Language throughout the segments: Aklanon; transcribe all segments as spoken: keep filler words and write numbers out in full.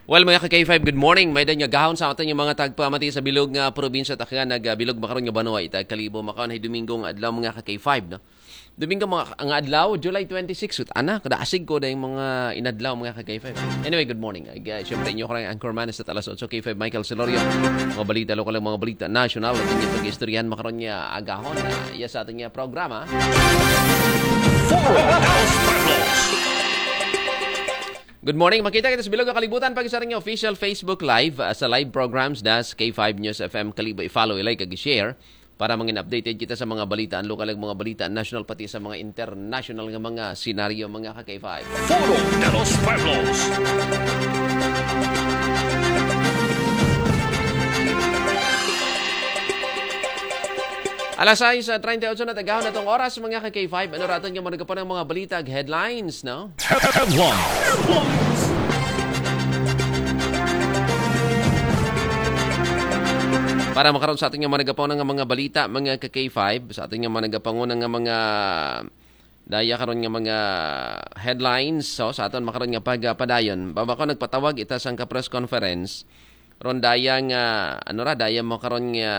Well, mga ka-K five, good morning. May danyag gahon sa aton yung mga tagpamati sa bilog nga probinsya, takyan nag ah, bilog makaron nga banwa, ita kalibo makaon ay Domingo nga adlaw, mga ka-K five, no? Domingo mga, nga adlaw, July twenty-six, ut ana, kada asig ko na yung mga inadlaw, mga ka-K five. Anyway, good morning. Ay, uh, syempre, inyo ko lang anchorman sa Talas Otso, K five Michael Celorio. Mga balita lokal, mga balita national, at yung pag-istoryahan makaron niya agahon, uh, iya sa ating uh, programa. Foro de los Pueblos. Good morning. Makita kita sa bilog nga kalibutan pag sa ring official Facebook Live, ah, sa live programs das K five News F M. Kalibo i-follow, i-like, ag i-share para mangin updated kita sa mga balita, ang lokal, ang mga balita national, pati sa mga international nga mga senaryo, mga ka-K five. Foro de los Pueblos. Alas sais treinta y ocho na tagahon atong oras, mga ka-K five. Ano raton nga mga nagapon ang mga balita ag headlines, no? Headlines. Para makaron sa ating mga nagapon nga mga balita, mga ka-K five, sa ating mga nagapanguna nga mga daya karon nga mga headlines, so sa aton makaron nga pagpadayon. Baba ko nagpatawag ita sang ka press conference. Ron daya nga, ano ra, daya mo karon nga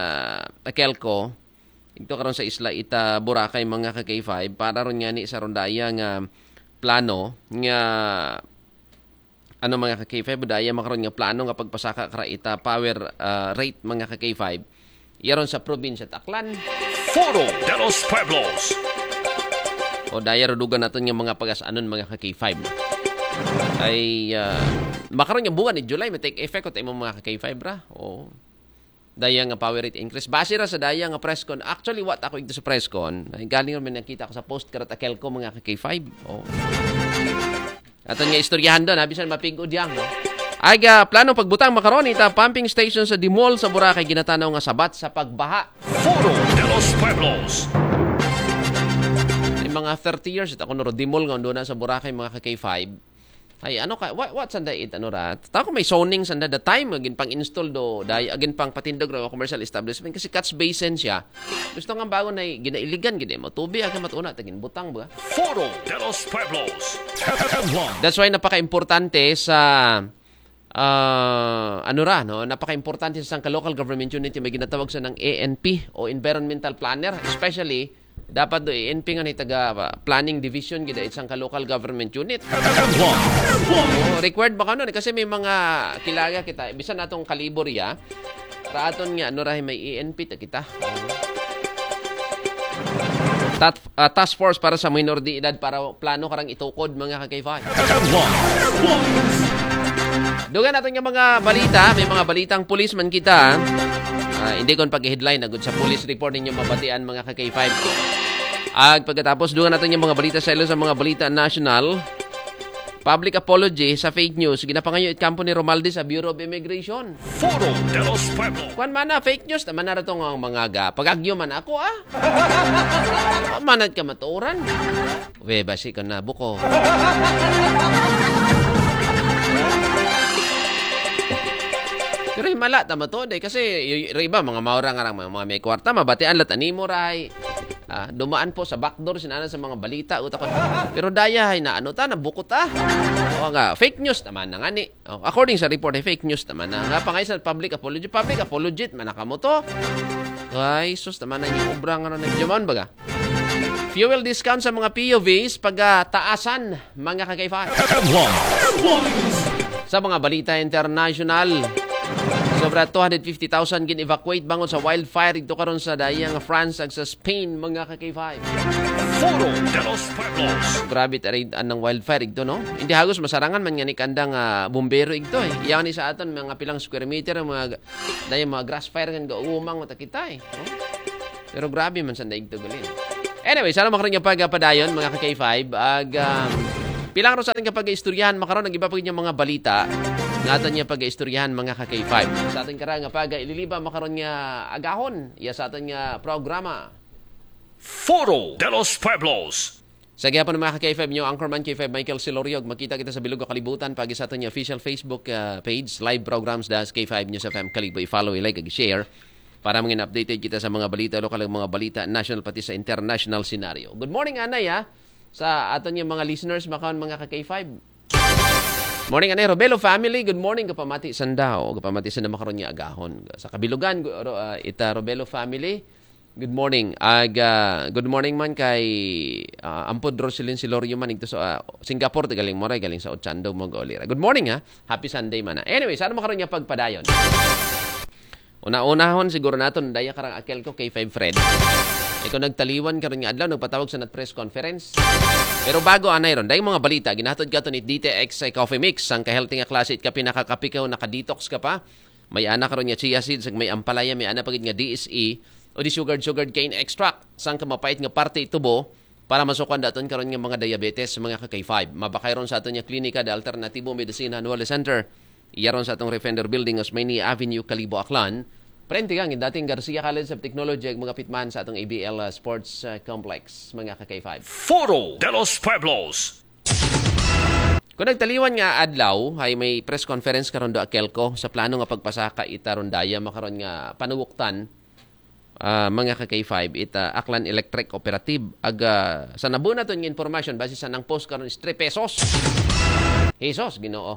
Akelco. Ito karon sa isla ita Boracay, mga ka-K five, para ron nga ni sa ron daya nga plano nga ano, mga ka-K five, daya makaron nga plano nga pagpasaka kara ita power ah, rate, mga ka-K five. Iya ron sa probinsya Aklan. Foro de los Pueblos. O daya rudugan naton nga mga pagas-anon, mga ka-K five. Ay ah, makaron nga buwan ni July, may take effect ko tayo, mga ka-K five, ra. O daya nga power rate increase. Base ra sa daya nga press con. Actually, what ako ito sa press con. Ay, galing naman nakita ko sa post karat Akelco, mga ka-K five. Oh. Aton nga istoryahan doon, ha? Bisan mapig-o diyang, no? Ay, ah, plano pagbutang makaron ita pumping station sa Dimol sa Boracay, ginatanaw nga sabat sa pagbaha. Foro de los Pueblos. Ay, mga thirty years, ito ako nuro Dimol nga doon na sa Boracay, mga ka-K five. Ay, ano ka, what, what sanda it, ano ra? Tako may zoning sanda the time, agin pang install do, day, agin pang patindog ra commercial establishment kasi catch basin siya. Gusto nga bago na ginailigan gid mo. Tubi agin matuna tagin butang ba? Foro de los Pueblos. That's why napaka-importante sa ah, ano ra, no? Napaka-importante sa sangka local government unit yung may ginatawag sa ng A N P o environmental planner, especially dapat do A N P nga ni taga ah, planning division gid it sangka local government unit. Oh, required ba kano ni? Kasi may mga kilaga kita, bisan natong kalibor ya, raton nga ano ra may A N P ta kita. Tat, ah, task force para sa minor de edad para plano karang itukod, mga ka-K five. Dugan natin yung mga balita. May mga balitang pulis man kita. Ah, hindi kon pag-headline agud sa police report ninyo mabatian, mga ka-K five. Ag pagkatapos, dugan natin yung mga balita sa ilo sa mga balita national. Public apology sa fake news. Ginapangayo it kampo ni Romaldi sa Bureau of Immigration. Foro de los Pueblos. Kwan man na, fake news naman na ratong ang mga ga. Pagagyo man ako, ah. Manat ka maturan. We, basi ka na buko. Pero himala, tama to, day. Kasi y- y- iba, mga maura nga lang, mga, mga may kwarta, mabatian lat animo, ray. Ah, dumaan po sa backdoor, sinana sa mga balita, utak ko. Pero daya, hay na ano ta, nabuko ta. O nga, fake news naman na nga ni. Oh, according sa report, ay fake news naman na. Nga pangay sa public apology, public apology, man na kamo to. Ay, sus, naman na yung obra nga ron. Jaman baga. Fuel discount sa mga P U Vs, pagtaasan, mga ka-K five. Sa mga balita international, sobra two hundred fifty thousand gin-evacuate bangon sa wildfire ito karon sa dayang France ag sa Spain, mga ka-K five. Foro de los Pueblos. Grabe tayo ang wildfire ito, no? Hindi hagos masarangan man nga ni kandang ah, bumbero ito eh. Iyaw ni sa aton, mga pilang square meter, mga, dayang mga grass fire nga gaumang mata kita eh. No? Pero grabe man sa daig to, galing. Anyway, sana makaroon niya pagpadayon, mga ka-K five. Ag, um, pilang ro sa ating kapag-istoryahan, makaroon ng iba pa niya mga balita. Nga atin niya pag-istoryahan, mga ka-K five. Sa ating karang pag-ililiba, makaroon niya agahon. Iya sa atin nga programa. Foro de los Pueblos. Sa gihapon ng mga ka-K five niyo, Anchorman K five Michael Siloriog, makita kita sa bilog kalibutan pag sa atin niya official Facebook ah, page, live programs das K five News F M. Kalibo, i-follow, i-like, ag share para mangin updated kita sa mga balita, lokal, mga balita, national, pati sa international scenario. Good morning, Anay, ah. Sa aton yung mga listeners, makaon mga ka-K five. Morning, anay Robelo family. Good morning, kapamati sanda. O, kapamati sanda makaron nga agahon. Sa kabilugan, gu- ro- ah, ita Robelo family. Good morning. Aga, good morning man kay ah, Ampod Roselyn Silorio man ito sa ah, Singapore, galing mo ray, galing sa Ochando mo gaulira. Good morning ha. Happy Sunday man ha. Anyway, sa ano makaron nga pagpadayon? Una-unahon siguro naton daya karang akel ko kay five Fred. Ikaw nagtaliwan karon nga adlaw, nagpatawag sa nat press conference. Pero bago anay ron, dayong mga balita ginahatod kato ni D T X Coffee Mix, ang ka-healthy nga klase it kape, nakakapikaw, naka-detox ka pa. May ana karon nga chia seeds, may ampalaya, may ana pagid nga D S E o di sugared sugared cane extract, sang ka mapait nga parte itubo para masukan daton karon nga mga diabetes, mga ka-K five. Mabakay ron sa aton nga klinika, the Alternatibo Medicine Annual Center. Iya ron sa atong Refender Building, Osmeña Avenue, Kalibo, Aklan. Prente kang dating Garcia College of Technology, ag mga pitman sa atong A B L uh, Sports uh, Complex, mga ka-K five. Foro de los Pueblos. Kung nagtaliwan nga adlaw, ay may press conference karon do Akelco sa plano nga pagpasaka ita ron daya makaron nga panuguktan, ah, mga ka-K five, ita Aklan Electric Cooperative. Aga, sa nabuo naton nga informasyon, base sa nang post karon is three pesos. Jesus, Ginoo.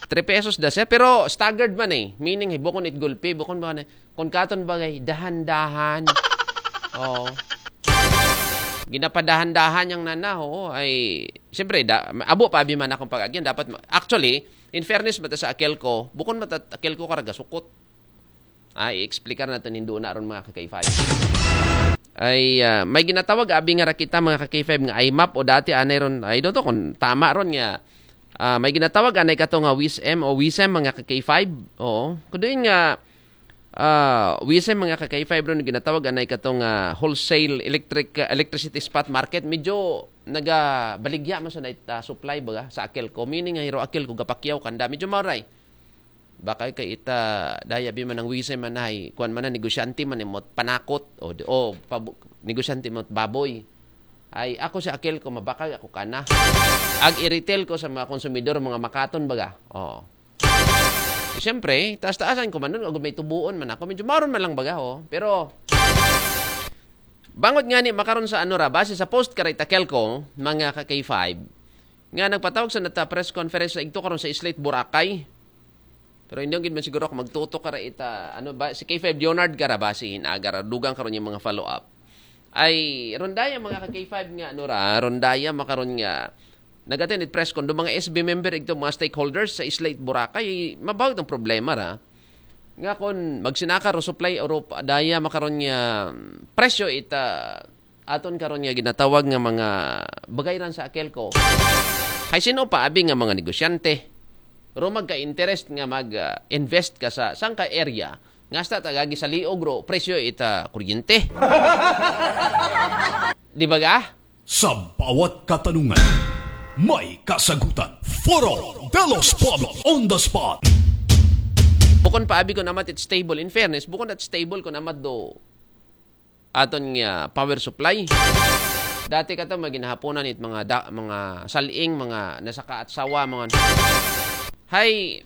Three pesos da siya, pero staggered man eh. Meaning, hey, bukon it gulpi, bukon ba na, kung katon bagay, dahan-dahan. Oo. Ginapadahan-dahan yang nana, oo, ay, siyempre, da, abo pa abi man akong pag-agyan. Dapat, ma- actually, in fairness, mata sa Akelco, bukon mata Akelco karaga sukot. Ay, i-explicar natin hindo na ron mga ka-K five. Ay, ah, may ginatawag abi nga rakita mga ka-K five nga I map o dati anay ron, ay doto kung tama ron nga. Ah, may ginatawag anay kato nga WISM o WISM mga ka-K five. Oo. Kuduin nga ah, WISM mga ka-K five ron ginatawag anay kato nga wholesale electric ah, electricity spot market. Medyo nagabaligya man sa night ah, supply ba sa Akelco. Meaning nga hiro Akelco gapakyaw kanda. Medyo maray. Baka kay ita daya bi man ang WISM man ay kuan man na negosyante man imot panakot o di- o pabu- negosyante imot baboy. Ay ako sa Akelco mabakag ako kana. Ag i-retail ko sa mga konsumidor, mga makaton baga. Oo. Siyempre, taas-taasan ko man nun, agud may tubuon man ako. Medyo maron man lang baga, oh. Pero, bangod nga ni makaron sa ano ra, base sa post karay Takelco, mga ka-K five, nga nagpatawag sa nata press conference sa igto karon sa Islay, Boracay. Pero hindi gid man siguro ako magtutok kara ita, ano ba, si K five Leonard kara ba, si Hinaga ra, dugang karon yung mga follow-up. Ay, rondaya mga ka-K five nga, ano ra, rondaya makaron nga, nag-attend it press con, do mga S B member, igto mga stakeholders sa Islay, Boracay, mabawag ang problema ra. Nga kon magsinaka ro supply Europa, daya makaron nga presyo ita aton karon nga ginatawag nga mga bagay ran sa Akelco. Hay sino pa abi nga mga negosyante? Ro magka-interest nga mag-invest ka sa sangka area nga hasta tagagi sa liog ro presyo ita kuryente. Di ba ga? Sa bawat katanungan, may kasagutan. Foro de los Pueblos on the spot. Bukon pa abi ko namat it stable. In fairness, bukon at stable ko namat do aton nga power supply. Dati ka to, maginahaponan it mga da, mga saling, mga nasaka at sawa, mga hay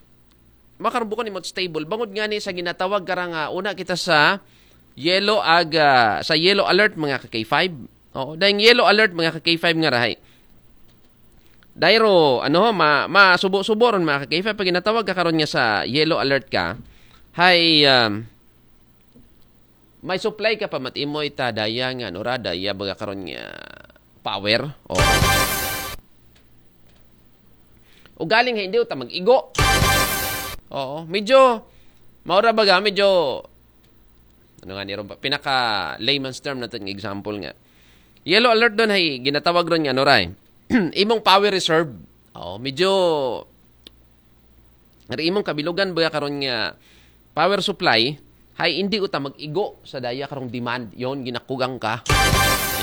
makarbukon imot stable. Bangod nga ni sa ginatawag kara nga una kita sa yellow ag ah, sa yellow alert mga ka-K five. Oo, dahil yellow alert mga ka-K five nga rahay. Dahil ro, ano ho, ma, masubo-subo ron mga ka-K five pag ginatawag ka karon nga sa yellow alert ka. Hay um, may supply ka pa matimoy ta daya nga ano ra, daya baga karon nga power. Oo. O galing hindi ta mag-igo. Oo, medyo maura baga medyo ano nga ni ron ba? Pinaka layman's term natin nga example nga. Yellow alert doon hay ginatawag ron nga ano ray. Imong power reserve. Oo, medyo Ngari imong kabilugan ba karon nga power supply, hay hindi uta mag-igo sa daya karong demand, yon ginakugang ka.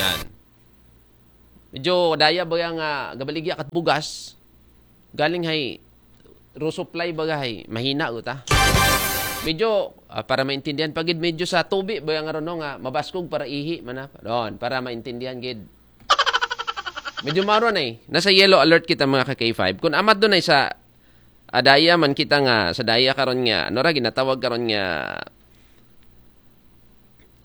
Yan. Medyo daya ba nga gabaligya kat bugas, galing hay ro supply ba hay mahina uta. Medyo ah, para maintindihan pagid medyo sa tubi ba nga ron nga mabaskog para ihi man na. Ron, para maintindihan gid. Medyo maron ay nasa yellow alert kita mga ka-K five. Kung amat doon ay sa adaya man kita nga sa daya karon nga ano ra ginatawag karon nga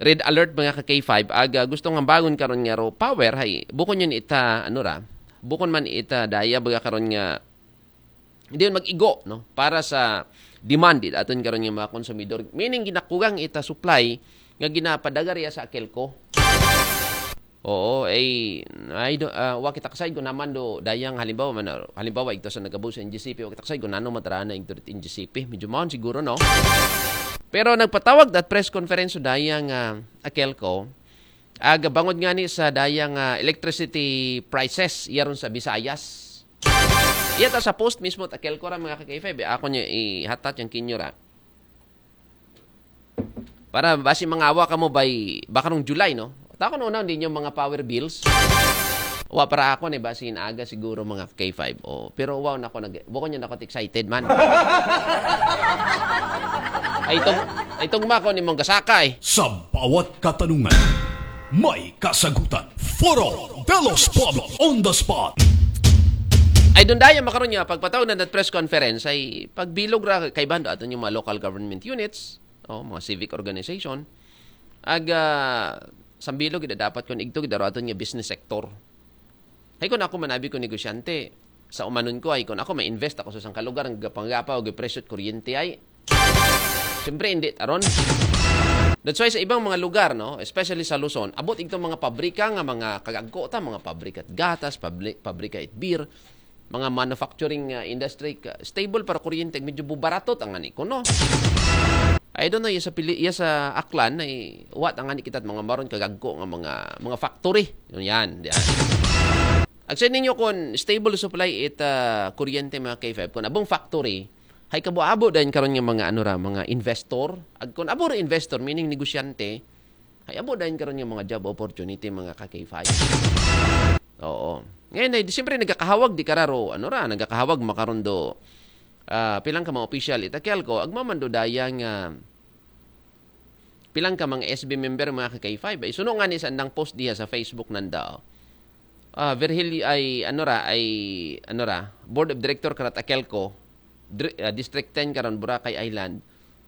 red alert mga ka K five aga gusto nga bangon karon nga ro power hay bukon yun ita ano ra bukon man ita daya baga karon nga Hindi yun mag-igo, no? Para sa demand, it aton karon nga mga konsumidor. Meaning, ginakugang ita supply nga ginapadagar iya sa Akelco. Oo, eh, I do, ah, wa kita kasay kung naman do dayang halimbawa man, halimbawa ito sa nagabo sa N G C P, wa kita kasay kung nano matarana ito N G C P. Medyo maon siguro, no? Pero nagpatawag that press conference so dayang ah, Akelco, aga bangod nga ni sa dayang ah, electricity prices, iya ron sa Visayas. Iya ta sa post mismo, ta Akelco ra mga ka-K five, eh. Ako niya ihatat yung kinyo ra. Para basi mangawa ka mo by, baka nung July, no? Tako nung una, hindi nyo mga power bills. Wa para ako ni basi aga siguro mga K five. Oh, pero wow na ako nag buko niya na ako excited man. Ay itong ay itong mako ni mong gasaka eh. Sa bawat katanungan, may kasagutan. Foro de los Pueblos on the spot. Ay doon dahil makaroon niya pagpatawag na that press conference ay pagbilog ra kay bando aton yung mga local government units, oh, mga civic organization, ag ah, sambilog gid dapat kon igto gid aton nga business sector. Hay kon ako manabi ko negosyante, sa umanon ko ay kon ako may invest ako sa isang kalugar ang gapanggapaw og presyo at kuryente ay siyempre hindi taron. That's why sa ibang mga lugar, no, especially sa Luzon, abot igto mga pabrika nga mga kagagko ta, mga pabrika at gatas, pabri- pabrika at beer, mga manufacturing uh, industry, ka- stable para kuryente, medyo bubaratot ang ani ko, no? I don't know, iya sa, pili, iya sa Aklan, ay, what ang ani kita mga maron kagagko nga mga, mga factory. Yun yan, yan. Ag sa ninyo kung stable supply it uh, kuryente mga K five, kung abong factory, hay kabo-abo dahil karon nga mga ano ra, mga investor. Ag kung abo ra investor, meaning negosyante, ay abo dahil karon nga mga job opportunity mga ka-K five. Oo. Ngayon ay siyempre nagkakahawag di kararo, ano ra, nagkakahawag makarondo ah, pilang ka mga official itakyal ko, agmamando dayang ah, pilang ka mga S B member mga ka-K five. Ay suno nga ni sa andang post diha sa Facebook nanda. Ah, Virgil ay ano ra, ay ano ra, Board of Director karat Akelco, dri- ah, District ten karon Boracay Island,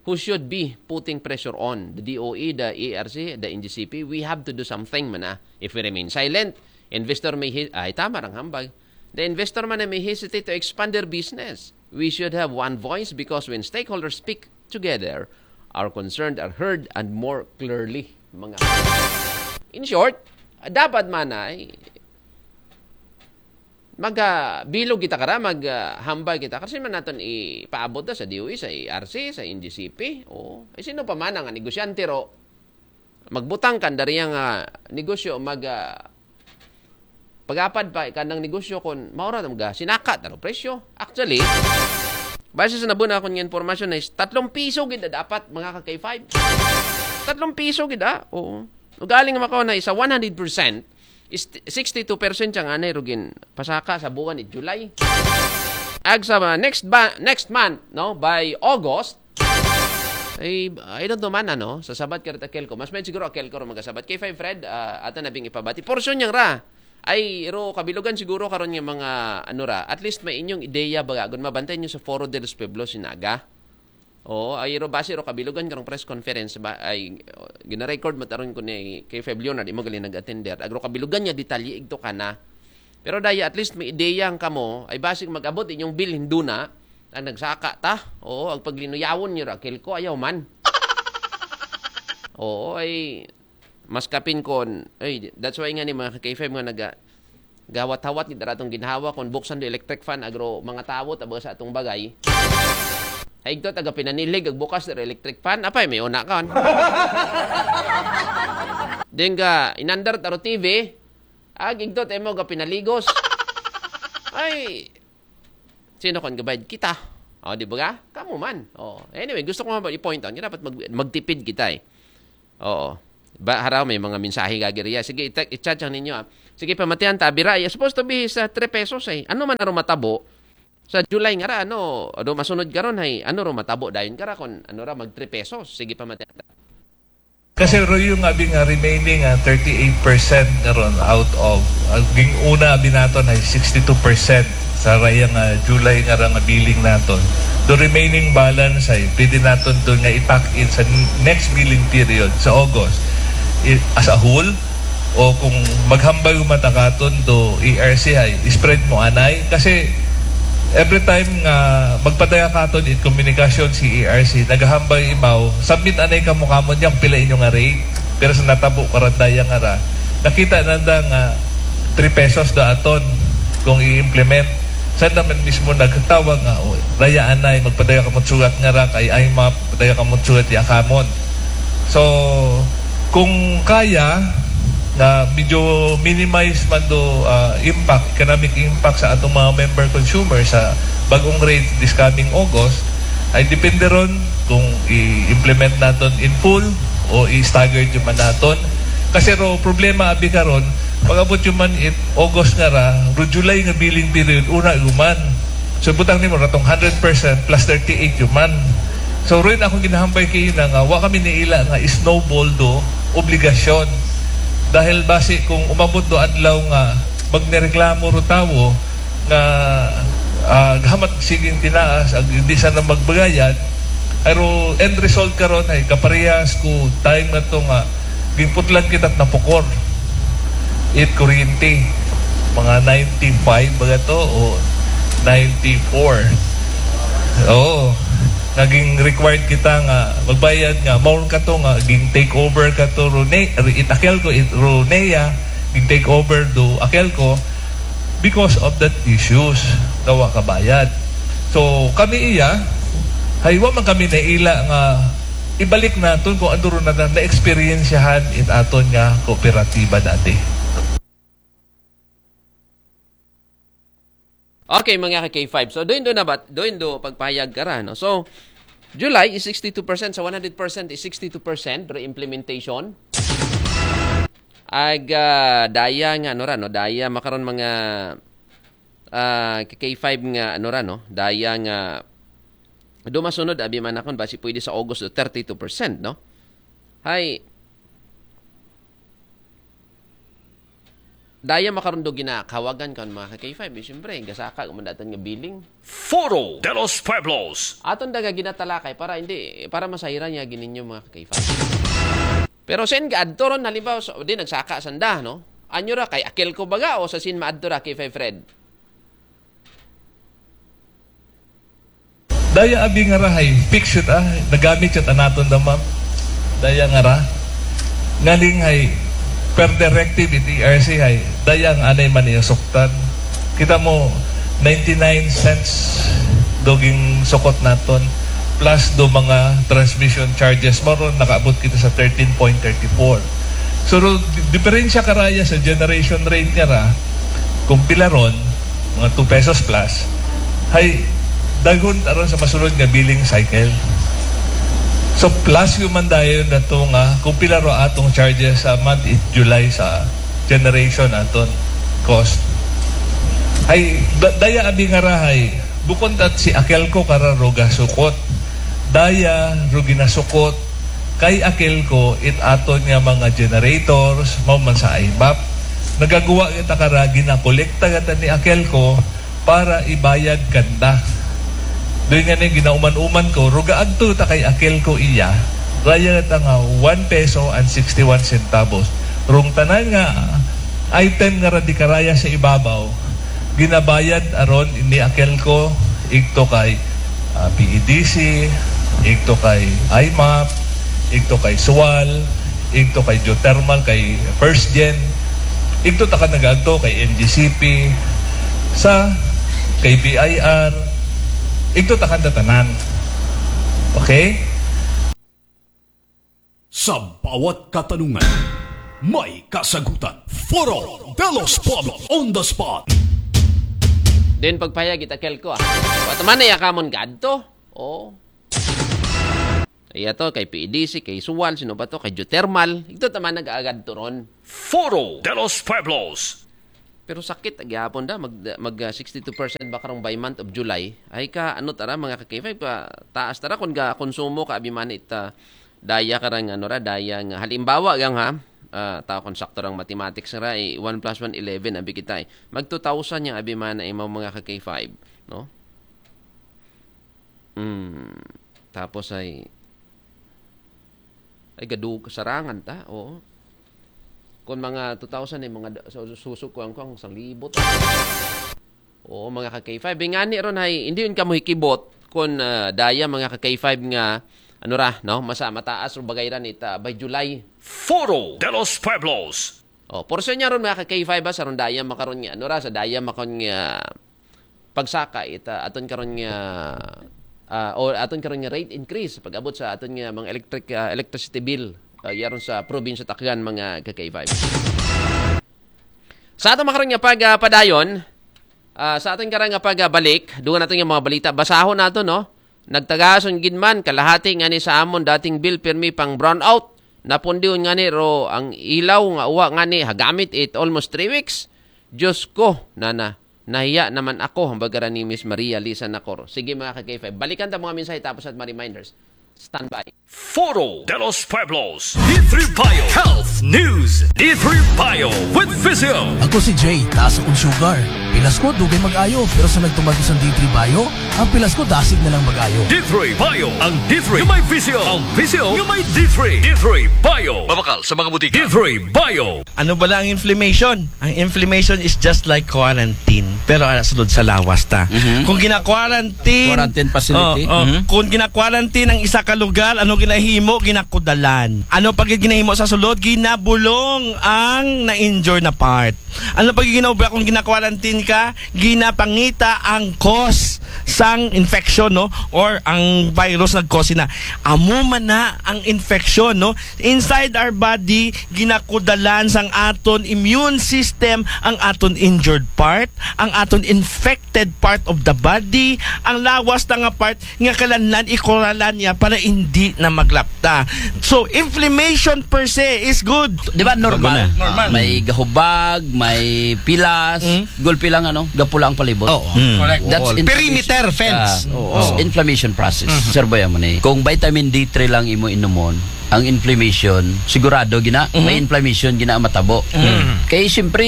who should be putting pressure on the D O E, the A R C, the N G C P. We have to do something man ah. If we remain silent, investor may he- ay tama rang hambag. The investor man ay may hesitate to expand their business. We should have one voice because when stakeholders speak together, our concerns are heard and more clearly. Mga In short, dapat man ay magabilog kita kara, maghambal kita kasi man naton ipaabot na sa D O E, sa A R C, sa N G C P. O, eh, sino pa man ang negosyante ro magbutang kan dari nga negosyo mag ah, pagapad pa kanang negosyo kon maura na mga sinaka taro presyo. Actually, base sa nabuna akong nga impormasyon na is tatlong piso gid na dapat mga ka-K five. Tatlong piso gid ah. Oo. Ugaling makaw na isa one hundred percent is sixty-two percent siya nga na rugin pasaka sa buwan ni July. Ag sa next ba next month no by August, ay, I don't know man, ano, sa sabat ka rin Akelco. Mas may siguro Akelco rin magasabat. K five Fred, uh, ata na bing ipabati. Portion niyang ra. Ay, ro, kabilugan siguro karon nga mga, ano ra, at least may inyong ideya baga. Gun mabantay niyo sa Foro de los Pueblos, Sinaga. Oo, ay ro base ro kabilugan karong press conference ba ay oh, gina-record mataron ko ni K five Leonard imo gali nag-attender. Agro kabilugan niya detalye igto kana. Pero daya at least may ideya ang kamo ay basig mag-abot inyong bilhin duna ang nagsaka ta. Oo, ang paglinuyawon niyo ra Akelco ayaw man. Oo, ay mas kapin kon ay that's why nga ni mga K five nga naga gawat-hawat gid atong ginhawa kon buksan do electric fan agro mga tawot abaga sa atong bagay. Ay igto taga pinanilig ag bukas do electric fan apay may una kon. Ding ga inandar taro T V ag igto tayo mo ga pinaligos. Ay sino kon gabayad kita? O, di ba ga? Kamo man. O, anyway, gusto ko nga i-point out nga dapat mag, magtipid kita eh. Oo. Ba, haraw may mga mensahe gagiriya. Sige, i-, i-chat ang ninyo ah. Sige, pamatihan ta, bira. It's supposed to be sa three pesos eh. Ano man aro matabo? Sa July nga ra, ano, ano masunod karon hay, ano ro matabo dayon kara kon ano ra mag three pesos. Sige, pamatihan ta. Kasi ro yung abi nga remaining ah, thirty-eight percent na ron out of ah, ging una abi naton ay sixty-two percent sa rayang ah, July nga ra nga billing naton. The remaining balance ay pwede naton doon nga i-pack in sa n- next billing period sa August. I- as a whole, o kung maghambay mo matakaton do A R C ay spread mo anay kasi Every time nga magpadaya katon it komunikasyon si E R C, naghahambal imaw, submit anay kamo kamo niya kung pila inyo nga rate. Pero sa natabo karon daya nga ra, nakita nanda nga three pesos da aton kung i-implement. Sa naman mismo nagtawag nga, "Oh, daya anay, magpadaya kamo sugat nga ra kay I M A P, padaya kamo sugat ya kamon." So, kung kaya, nga medyo minimize man do, ah, impact, economic impact sa atong mga member consumer sa bagong rate this coming August, ay depende ron kung i-implement naton in full o i-stagger jud man naton. Kasi ro problema abi karon, pag-abot jud man it August nga ra, ro July nga billing period, una jud man. So butang nimo ratong hundred percent plus thirty-eight jud man. So rin akong ginahambal kay ina nga wa kami niila nga snowball do obligasyon. Dahil basi kung umabot do adlaw nga magnireklamo ro tawo nga, ah, gahamat siging tinaas, ag hindi sana magbayad, pero end result karon ay kaparehas ko time na to nga giputlan kita napukor. It kuryente, mga ninety-five ba to o ninety-four? Oo. Naging required kita nga magbayad nga, maon ka to nga ging take over ka to Rune, it Akelco, it Runea, ging take over do Akelco because of that issues nga wa kabayad. So kami iya, hay wa man kami naila nga ibalik naton kung ano ron na na-experiensyahan it aton nga kooperatiba dati. Okay, mga ka-K five. So, doon doon na ba? Doon do pagpahayag ka ra, no? So, July is sixty-two percent sa one hundred percent is sixty-two percent re-implementation. Ag ah, daya nga ano ra, no? Daya makaron mga ah, K five nga ano ra, no? Daya nga do masunod abi man akon basi pwede sa August do thirty-two percent, no? Hay, daya makaron do ginakawagan kan mga ka-K five, eh, siyempre, gasaka gumandatan nga billing. Foro de los Pueblos. Aton daga ginatalakay para hindi, para masayran niya gininyo mga ka-K five. Pero sen gaadto ron, halimbawa, so, di nagsaka sanda, no? Anyo ra, kay Akelco baga o sa sin maadto ra, K five Fred? Daya abi nga ra hay, fix it ah, nagamit it anaton da ma'am. Daya nga ra. Ngaling hay, per directive it E R C hay, daya nga anay man iya suktan. Kita mo, ninety-nine cents do ging sukot naton, plus do mga transmission charges, mao ron nakaabot kita sa thirteen point thirty-four. So, ro-, di-, diferensya karaya sa generation rate nga ra, kung pila ron, mga two pesos plus, hay daghon aron sa masunod nga billing cycle. So plus yung man dayon na to nga kung pila ro atong charges sa month in July sa generation aton cost. Ay da- daya abi nga ra hay bukon tat si Akelco kara ro gasukot. Daya ro ginasukot kay Akelco it aton nga mga generators, mao man sa I M A P. Nagaguwa kita kara ginakolekta gata ni Akelco para ibayad kanda. Doon nga ni ginauman-uman ko, ro gaadto ta kay Akelco iya, raya ta nga one peso and sixty-one centavos. Rong tanan nga item nga ra di karaya sa ibabaw, ginabayad aron ni Akelco, igto kay ah, P E D C, igto kay I M A P, igto kay Sual, igto kay Geothermal, kay First Gen, igto ta ka nagaadto kay N G C P, sa kay B I R, igto ta kanda tanan. Okay? Sa bawat katanungan, may kasagutan. Foro de los Pueblos on the spot. Then pagpahayag it Akelco ah. Wa ta man na iya kamon gaadto. Oh. Iya to, kay P E D C, kay Sual, sino ba to? Kay Geothermal. Igto ta man nag-agadto ron. Foro de los Pueblos. Pero sakit gyapon da, mag, mag ah, sixty-two percent ba karong by month of July? Ay ka, ano tara, mga ka-K five, ka, taas tara kung ga konsumo ka, abi man it ah, daya karang, ano ra, daya nga, halimbawa gang ha, ah, tao kung sakto rang mathematics ra, eh, one plus one, eleven, abi kita eh. Mag two thousand yang abi man na imaw mga ka-K five, no? Mm, tapos ay, ay gadug kasarangan ta, oo. Kung mga two thousand ay mga da- so- susok ko ang kung sang libot. Oo, mga ka-K five. Ingani ron hay, hindi yun kamo hikibot kung ah, daya, mga ka-K five, nga, ano ra, no? Masa mataas ro bagay ran ita by July. Foro de los Pueblos. Oh, portion niya ron, mga ka-K five, ba, sa ron daya makaron nga, ano ra, sa daya makon nga pagsaka ita aton karon nga ah, o aton karon nga rate increase pag-abot sa aton nga mga electric ah, electricity bill ah, yaron sa probinsya Tacloban, mga ka-K five. Sa aton makaron nga pagpadayon, ah, sa aton karon nga pagbalik, dugang naton nga mga balita, basahon nato, no? Nagtagason gid man kalahati ngani sa amon dating bill, pirmi pang brownout. Napundion ngani ro ang ilaw nga uwa ngani hagamit it almost three weeks. Diyos ko, nana, nahiya naman ako, ang bagara ni Miss Maria Lisa Nacor. Sige, mga ka-K five, balikan ta mga mensahe tapos at mga reminders. Standby. Foro de los Pueblos. D three Bio Health News. D three Bio with Visio. Ako si Jay, taas akong sugar. Pilas ko, dugay mag-ayo, pero sa nagtumag sa D three Bio, ang pilas ko dasig na lang mag-ayo. D three Bio, ang D three nga may Visio. Ang Visio nga may D three. D three Bio. Mabakal sa mga butika. D three Bio. Ano bala ang inflammation? Ang inflammation is just like quarantine, pero ana sulod sa lawas ta. Mhm. Kung gina-quarantine, Quarantine facility. Oh, oh, Mhm. kung gina-quarantine ang isa ka lugar, ano ginahimo? Ginakudalan. Ano pa gid ginahimo sa sulod? Ginabulong ang na-injure na part. Ano pa gid ginaobra kung gina-quarantine ka? Ginapangita ang cause sang infection, no? Or ang virus nag-cause na. Amo man na ang infection, no? Inside our body, ginakudalan sang aton immune system ang aton injured part, ang aton infected part of the body, ang lawas na nga part nga kalanlan ikuralan niya para hindi na maglapta. So, inflammation per se is good. Di ba normal? Normal. May gahubag, may pilas, Mm. gulpi lang ano, gapula ang palibot. Oo. Mm. Correct. That's Wall. Perimeter inflammation. Fence. Ah, Oo. That's inflammation process. Mhm. Sir Boy, amo ni. Kung vitamin D three lang imo inumon, ang inflammation, sigurado gina, Mhm. may inflammation gina ang matabo. Mhm. Kay siyempre,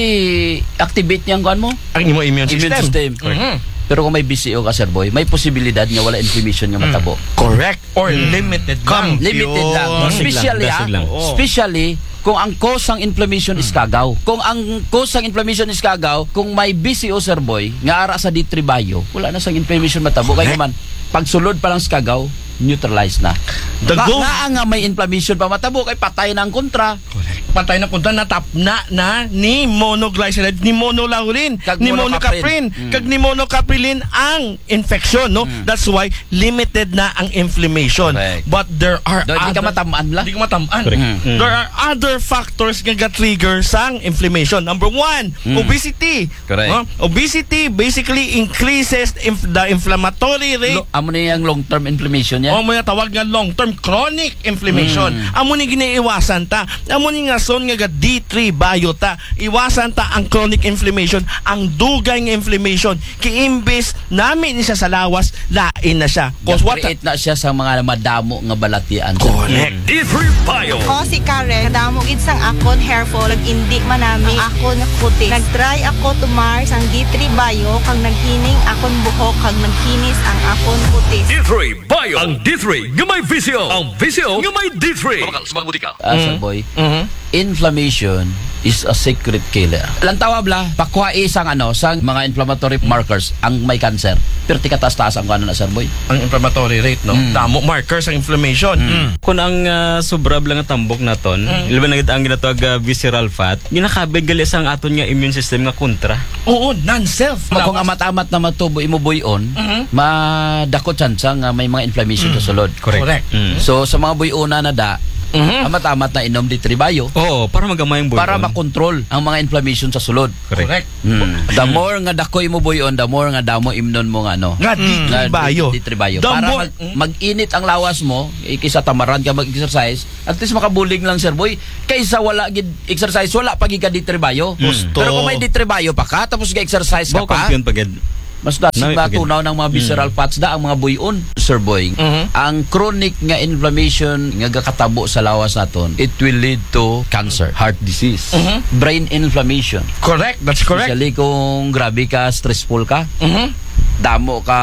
activate niya ang kuan mo. Ang imo immune Immune system. system. Mhm. Pero kung may B C O ka, Sir Boy, may posibilidad nga wala inflammation nga Mm. matabo. Correct. Or Mm. limited lang. Limited lang. Yun. Especially, Dasig lang, ah, dasig lang. Oo. especially kung ang cause ng inflammation is Mm. kagaw. Kung ang cause ng inflammation is kagaw, kung may B C O, Sir Boy, nga ara sa D three Bio, wala na sang inflammation matabo. Kaya Correct. naman, pagsulod pa lang sa kagaw, neutralize na. The Nga, goal nga, nga may inflammation pa matabo, kay patay na ang kontra. Correct. Patay na kontra, natapna na ni monoglyceride, ni monolaurin, Kag ni monocaprin. monocaprin, Mm. kag ni monocaprilin ang infection, no? Mm. That's why limited na ang inflammation. Correct. But there are Do, di ka other matamaan la? Di ka matamaan. Correct. Mm. Mm. There are other factors nga ga-trigger sang inflammation. Number one, Mm. obesity. Correct. No? Obesity basically increases inf- the inflammatory rate. Lo-, amo na yung long-term inflammation niya. O, mo na tawag nga long-term chronic inflammation. Mm. Amo ni giniiwasan ta. Amo ni nga son nga ga D three Bio ta. Iwasan ta ang chronic inflammation, ang dugay nga inflammation. Kay imbis nami ni siya sa lawas, lain na siya. 'Cause what Ga-create na siya sa mga madamo nga balatian. Correct. D three Bio. Ako si Karen. Kadamo gid sang akon hair fall, nag-indi man nami ang akon kutis. Nag-try ako tumar sang D three Bio, kag naghining akon buhok, kag naghinis ang akon kutis. D three Bio. Ang D three nga may visyo. Ang visyo nga may D three. Mabakal sa mga butika. Ah, Sir Mm. Boy. Mhm. Inflammation is a secret killer. Lantawa bala, pakuha isang ano, sang mga inflammatory markers ang may cancer. Pero tikataas-taas ang ano na, Sir Boy. Ang inflammatory rate, no? Mm. Damo markers ang inflammation. Mm. Mm. Kung ang ah, sobra bala nga tambok naton, Mm. labi na gid ang ginatawag ah, visceral fat, ginakabig gali sang aton nga immune system nga kontra. Oo, non-self. Kung amat-amat na matubo imo buy-on, Mhm. madako tsansa nga may mga inflammation sa Mm. sulod. Correct. Correct. Mm. So, sa mga buy-ona na da, Mhm. amat-amat na inom D three Bio. Oo, para magamay ang buy-on. Para makontrol ang mga inflammation sa sulod. Correct. Correct. Mm. The more nga dako imo buy-on, the more nga damo imnon mo nga ano. Nga Mm. D three Nga Bio. D three Bio. The Para more mag, Mm. mag-init ang lawas mo, ikisa tamaran ka mag-exercise, at least makabulig lang, Sir Boy. Kaysa wala gid exercise, wala pa gid ka D three Bio. Mm. Gusto. Pero kung may D three Bio pa ka, tapos ga-exercise ka Bo, pa, kampiyon pa gid. Mas dasig Nami pa gid. matunaw ng mga visceral Mm. fats da ang mga buy-on, Sir Boy. Mhm. Ang chronic nga inflammation nga gakatabo sa lawas naton, it will lead to cancer, heart disease, Mhm. brain inflammation. Correct, that's correct. Especially kung grabe ka, stressful ka. Mhm. Damo ka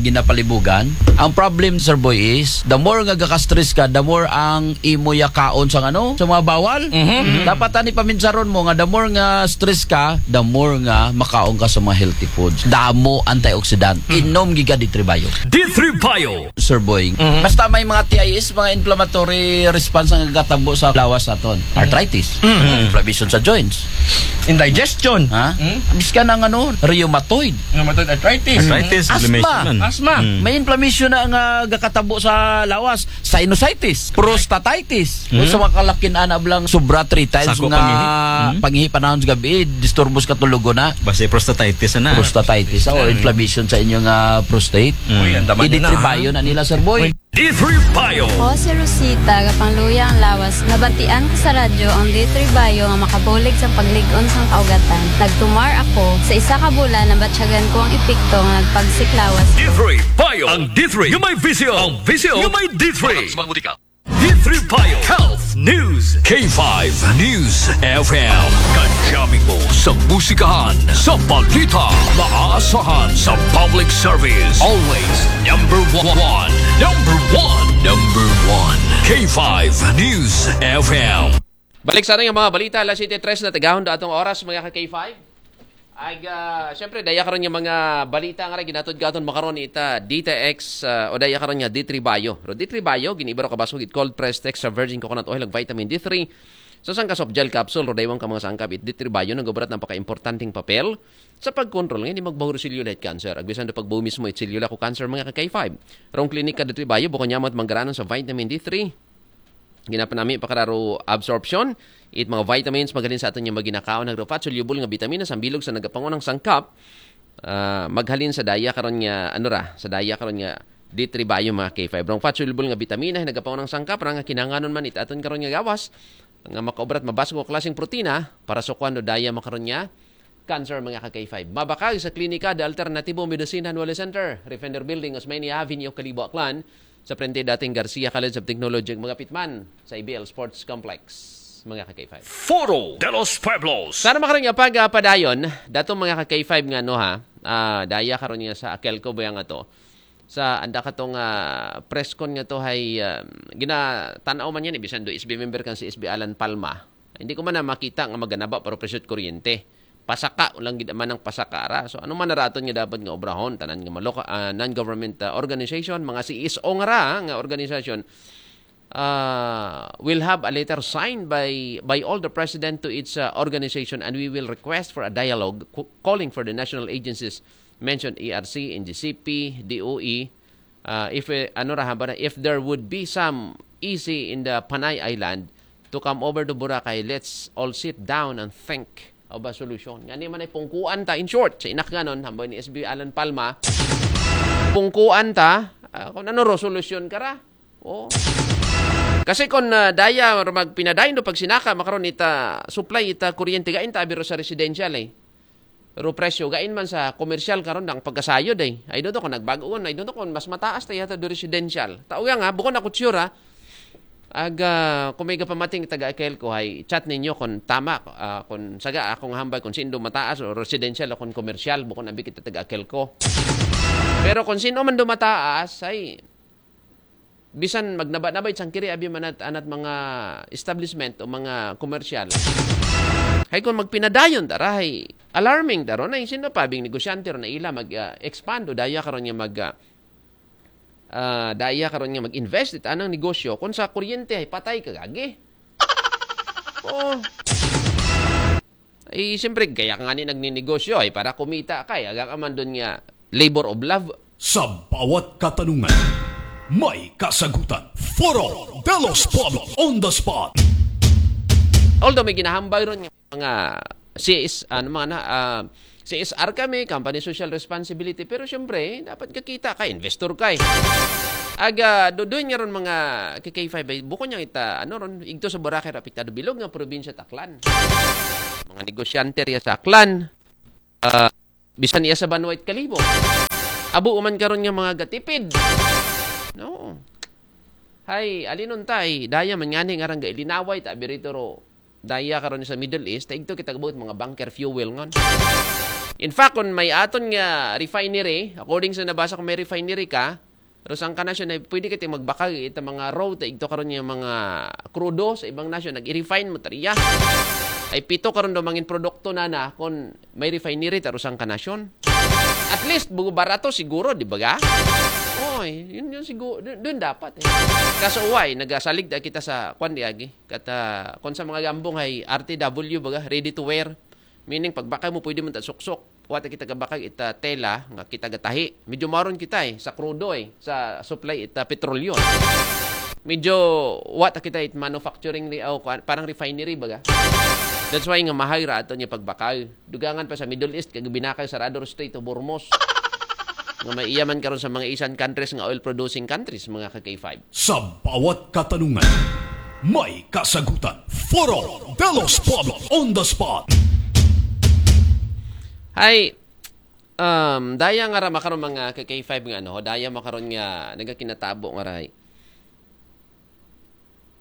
ginapalibugan. Ang problem, Sir Boy, is the more nga gaka-stress ka, the more ang imo yakaon sa ano, sa mga bawal. Mhm. Dapat ani paminsaron mo nga the more nga stress ka, the more nga makaon ka sa mga healthy foods. Damo antioxidant. Mm. Inom giga D three Bio. D three Bio. Sir Boy. Mhm. Basta may mga T I S, mga inflammatory response ang gatabo sa lawas naton. Arthritis. Mhm. Inflammation sa joints. Indigestion. Ha? Hmm? Bisan ang ano, rheumatoid. Rheumatoid arthritis. Arthritis, asthma. Inflammation. Asthma. Hmm. May inflammation na nga gakatabo sa lawas, sinusitis, prostatitis. Hmm. Sa mga kalakin ana blang sobra three times. Sako nga pangihi. Hmm. Pangihi panahon sa gabi, disturbo sa katulog na. Basta prostatitis na. Prostatitis, o inflammation sa inyong, ah, prostate. Hmm. Uy, ang dama niya na, ha? Iditribayo na nila, Sir Boy. D three Bio. Ako si Rosita, gapangluya ang lawas. Nabatian ko sa radyo ang D three Bio nga makabulig sa paglig-on sa kaugatan. Nagtumar ako. Sa isa ka bulan, nabatyagan ko ang epekto nga nagpagsik lawas. D three Bio. Ang D three nga may visyo. Ang visyo nga may D three. Para sa mga mutika. D three Bio Health News. K five News F M. Kadyamin mo sa musikahan, sa balita, maaasahan sa public service. Always number one. Number one. Number one. K five News F M. Balik sa ating mga balita, alas siyete tres na, tagahon da atong oras, mga ka K five. Ay, ah, siyempre, daya karon nga mga balita nga rin, ginatod ka aton makaron ita D T X, ah, o daya karon nga D three Bio. Ro D three Bio, giniba ro ka basog it cold pressed extra virgin coconut oil, ag vitamin D three. Sa sangka soft gel capsule, ro daywang ka mga sangkap, it D three Bio, nagobrat ng paka-importanting papel sa pagkontrol nga hindi magbaho ro cellulite cancer. Agbisan do pagbaho mismo it cellula ko cancer, mga ka K five. Rong klinika D three Bio, bukon niya mat manggaranon sa vitamin D three. Ginapanami pakararo absorption, it mga vitamins, maghalin sa aton nga maginakaon, nagro fat soluble nga bitamina, sambilog sa nagapangunang sangkap, ah, maghalin sa daya karon nga, ano ra, sa daya karon nga D three Bio, mga K five. Rong fat soluble nga bitamina, nagapangunang sangkap, ra nga kinanganon man it aton karon nga gawas, nga makaobrat mabasog nga klaseng protina, para sa kuwan do daya makaron nga cancer, mga ka K five. Mabakag sa klinika de Alternatibo Medicine Anwale Center, Refender Building, Osmeña Avenue, Kalibo, Aklan, sa frente dating Garcia College of Technology, mga pitman sa A B L Sports Complex, mga ka K five. Foro de los Pueblos. Sana makaroon nga pag, ah, padayon, datong mga ka K five nga, no, ha, ah, daya karon nga sa Akelco ba nga to? Sa anda katong, ah, press con nga to hay, ah, ginatanaw man yan, ibisan do S B member kan si S B Alan Palma. Hindi ko man na makita nga maganaba pero presyo't kuryente. Pasaka, ulang gid man ang pasaka ra. So, ano man naraton nga dapat nga obrahon, tanan nga maloka-, ah, non-government, ah, organization, mga C S O nga ra nga organisasyon, ah, will have a letter signed by, by all the president to its, ah, organization, and we will request for a dialogue co-, calling for the national agencies mentioned, E R C, N G C P, D O E, ah, if, eh, ano ra, haba na, if there would be some E C in the Panay Island to come over to Boracay, let's all sit down and think of a solution. Nga ni man ay pungkuan ta, in short, sa inakganon, hambay ni S B Alan Palma, pungkuan ta, ah, kung ano ro, solusyon ka ra. Oh. Kasi kung, ah, daya, or magpinadayon do pagsinaka, makaron ita supply, ita kuryente, gain ta abiro sa residential eh. Pero presyo, gain man sa komersyal karon ang pagkasayod eh. I don't know kung nagbago on, I don't know kung mas mataas ta yata do residential. Tao nga, bukon ako sure ha. Ag, ah, kung may kapamating taga Akelco, hay chat ninyo kung tama, ah, kung saga akong hambay kung sino mataas o residential o kung komersyal, bukon abi kita taga Akelco. Pero kung sino man do mataas, ay bisan magnaba-naba it sangkiri abi man at, anat mga establishment o mga komersyal. Hay kung magpinadayon ta ra, hay alarming ta ro, na sino pa bing negosyante ro na ila mag, ah, expand o daya karon nga mag, ah, ah, daya karon nga mag-invest it anang negosyo kung sa kuryente hay patay ka gagi. Oh. Eh, siyempre, kaya ka nga ni nagninegosyo ay para kumita ka. Eh, aga ka man dun nga labor of love. Sa bawat katanungan, may kasagutan. Foro de los Pueblos on the spot. Although may ginahambay ron nga mga C S, ano, mga na, ah, C S R kami, company social responsibility, pero siyempre, dapat kakita ka, investor ka eh. Aga, do-, doon nga ron mga K K five, ay, bukon niyang ita, ano ron, igto sa Boracay, apektado bilog nga probinsya Taklan. Mga negosyante riya sa Aklan, ah, bisan iya sa Banwa it Kalibo. Abo, uman karon nga mga gatipid. No. Hay, alinon tay, daya man ngani nga rang gailinaway, ta, birito ro. Daya karon sa Middle East, ta igto kita gabuot mga bunker fuel ngon. In fact, kung may aton nga refinery, according sa nabasa ko, may refinery ka, pero sang ka nasyon ay pwede ka magbakag ita mga raw ta igto karon nga mga krudo sa ibang nasyon, nag-refine mo tariya. Ay pito karon daw mangin produkto na na kung may refinery ta sang ka nasyon. At least, bugo barato siguro, di ba ga? Oy, yun yun siguro, dun, dun dapat eh. Kaso why, nagasalig ta kita sa kwan di agi. Kata, kung sa mga gambong ay R T W baga, ready to wear. Meaning, pagbakag mo, pwede mo ta suksok. Wa ta kita gabakag ita tela nga kita gatahi. Medyo maron kita eh, sa krudo eh, sa supply ita petrolyo. Medyo wa ta kita it manufacturing ri aw kuan, parang refinery baga. That's why nga mahal ra ato niya pagbakag. Dugangan pa sa Middle East kag binakag sa Rador Strait of Hormuz. Nga may iyaman karon sa mga Asian countries nga oil producing countries, mga ka K five. Sa bawat katanungan, may kasagutan. Foro de los Pueblos on the spot. Hay, um, daya nga ra makaron mga ka K five nga ano, daya makaron nga nagakinatabo nga ray.